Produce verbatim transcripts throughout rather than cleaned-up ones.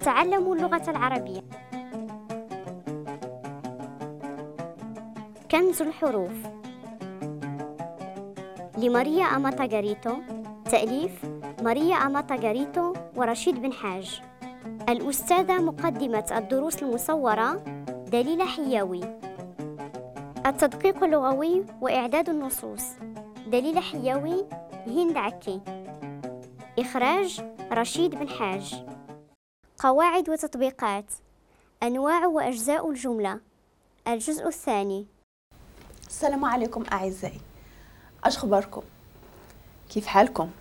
أتعلم اللغة العربية. كنز الحروف لماريا أماتاغاريتو، تأليف ماريا أماتاغاريتو ورشيد بن حاج. الأستاذة مقدمة الدروس المصورة دليلة حياوي. التدقيق اللغوي وإعداد النصوص دليلة حياوي، هند عكي. إخراج رشيد بن حاج. قواعد وتطبيقات، أنواع وأجزاء الجملة، الجزء الثاني. السلام عليكم أعزائي، أش خباركم؟ كيف حالكم؟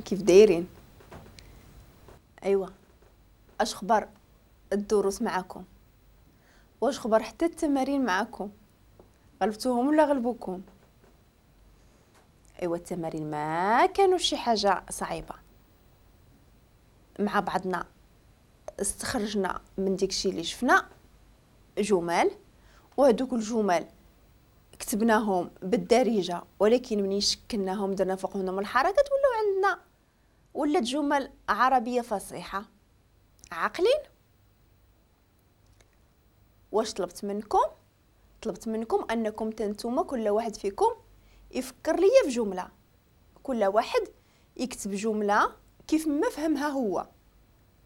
كيف دايرين؟ أيوة، أش خبار الدروس معكم؟ واش خبار حتى التمارين معكم؟ غلبتوهم ولا غلبوكم؟ أيوة، التمارين ما كانوا شي حاجة صعيبة، مع بعضنا استخرجنا من داكشي اللي شفنا جمل، وهذوك الجمل كتبناهم بالدارجة، ولكن منين شكلناهم درنا فوقهم الحركات ولاو عندنا ولات جمل عربية فصيحة. عاقلين؟ واش طلبت منكم؟ طلبت منكم انكم تنتوما كل واحد فيكم يفكر ليا في جملة، كل واحد يكتب جملة كيف ما فهمها هو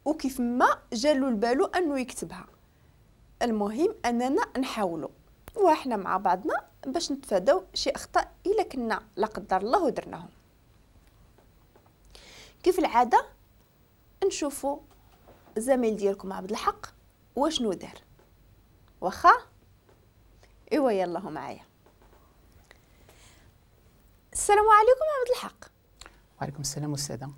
وكيف ما جالو البالو انه يكتبها. المهم اننا نحاولوا واحنا مع بعضنا باش نتفاداو شي اخطاء الا كنا لا قدر الله ودرناهم. كيف العادة نشوفوا الزميل ديالكم عبد الحق واشنو دار. واخا؟ ايوا يلا هو معايا. السلام عليكم عبد الحق. وعليكم السلام استاذه.